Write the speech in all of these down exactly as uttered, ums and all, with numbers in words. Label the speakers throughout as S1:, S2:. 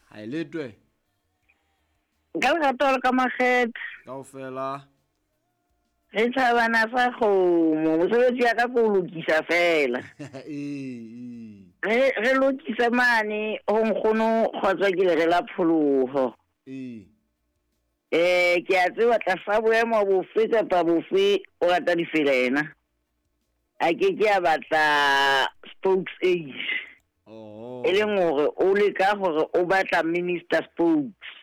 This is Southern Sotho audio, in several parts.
S1: Ha e letwe.
S2: Ka lerato le ka makgethe.
S1: Kaofela.
S2: Re thabana sa kgomo, mosebetsi ya ka ke o lokisa fela.
S1: Ee.
S2: Re re lokise mane ho nkgono kgotsa ke lere la pholoho.
S1: Ee.
S2: Eh ke a tseba tlasa boemo bofe kapa bofe o rata difela yena. A ke ke a batla spokes age.
S1: Oh.
S2: E leng hore o leka hore o batla minister spokes.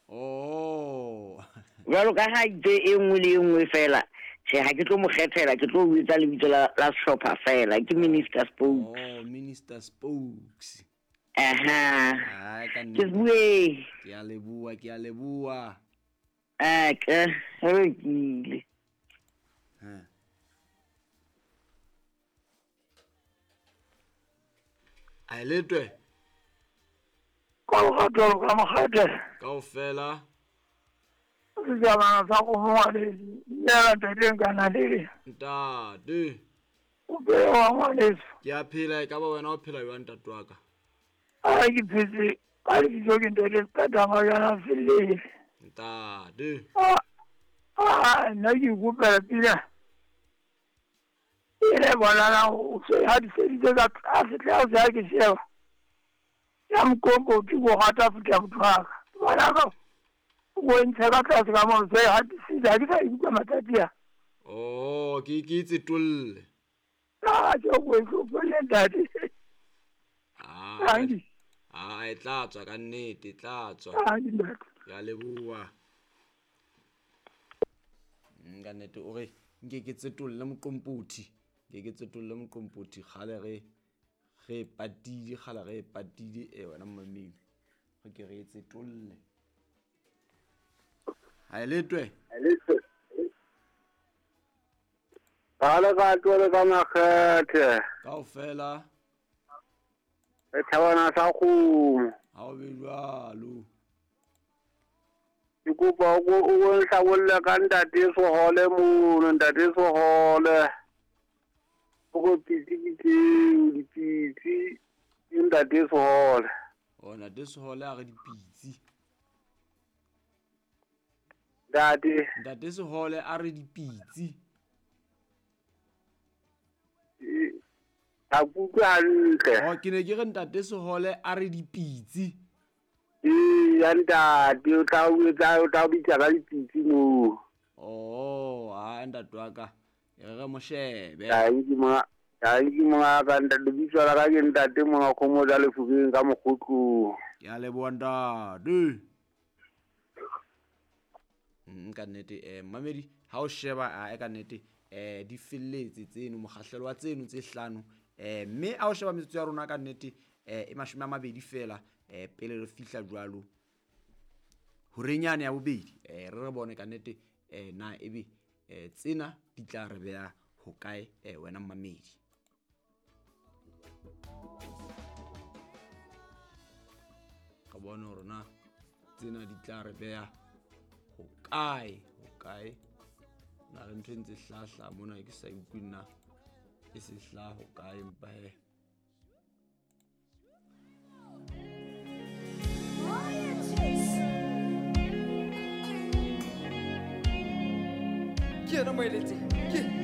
S1: Oh.
S2: Jwalo ka ha itse e nngwe le e nngwe fela, tjhe ha ke tlo mo kgethela, ke tlo o etsa lebitso la la sehlopha fela, ke minister spokes.
S1: Oh, Minister Spokes.
S2: Aha.
S1: Ai ka
S2: Ke
S1: nnete.
S2: bue.
S1: Ke a leboha, ke a leboha.
S2: Ah, ke re lokile.
S1: Ha. A e letwe.
S3: Ka lerato le ka makgethe.
S1: Kaofela.
S3: Sejabana sa kgomo ngwaneso. Dumela ntate Nkanalele.
S1: Ntate.
S3: O phela ngwaneso.
S1: Ke a phela, e ka ba wena o phela jwang ntate wa ka?
S3: A ke phetse ka lebitso ke ntate Qetang Fellele.
S1: Ntate.
S3: Ah, ah, nna ke ikopela pina. E le bonana o se hadiseditse ka tlase tlase ha ke sheba. Ya mokompoti ko rata futa motho wa ka. Bona ka o ntsha ka tlase ka moo se hadisitse ha ke sa ikutlwa matsatsi a.
S1: Oh, ke ke itse tolle.
S3: Ah, ke o hlopholle ntate.
S1: Ah.
S3: Tanki.
S1: Ah, e tla tswa ka nnete, e tla tswa.
S3: Tanki ntate.
S1: Ke a leboha. Mm, ka nnete o re nke ke tsetolle moqompothi. Nke ke tsetolle moqompothi kgale re re patile, kgale re patile e wena mmamedi. Re ke re tsetolle. Ha e letwe.
S4: Ka lerato le ka makgethe.
S1: Kaofela.
S4: Re thabana sa kgomo.
S1: Ha o be jwalo.
S4: Ke kopa o o nhlabolle ka ntate Sohole mono, ntate Sohole. O go pitsi ke tseo, dipitsi, ke ntate Sohole.
S1: Oh, ntate Sohole a re dipitsi.
S4: Ntate.
S1: Ntate Sohole a re dipitsi.
S4: Ha ke utlwe hantle.
S1: Oh, ke ne ke re ntate Sohole a re dipitsi.
S4: Ee, ya ntate, o tla o etsa, o tla o bitsa ka dipitsi moo.
S1: Oh, ha ntate wa ka. E re mo shebe.
S4: Tanki monga, tanki monga ka ntate, lebitso la ka ke ntate monga kgomo tsa Lefokeng ka Mokgotlong.
S1: Ke a leboha ntate. Mm, ka nnete, eh, mmamedi, ha o sheba, a e ka nnete, eh, di felletse tseno, mokgahlelo wa tseno tse hlano. Eh, mme ha o sheba metsotso ya rona ka nnete, eh, e mashome a mabedi fela, eh, pele re fihla jwalo horenyane ya bobedi. Eh, re re bone ka nnete, eh, na ebe, eh, tsena di tla re beha hokae, eh, wena mmamedi. Re bone hore na tsena di tla re beha hokae, hokae. Na le ntho e ntse hlahla mona ke sa utlwe nna e se hlaha hokae, empa he.
S5: Ke yena moeletsi. Ke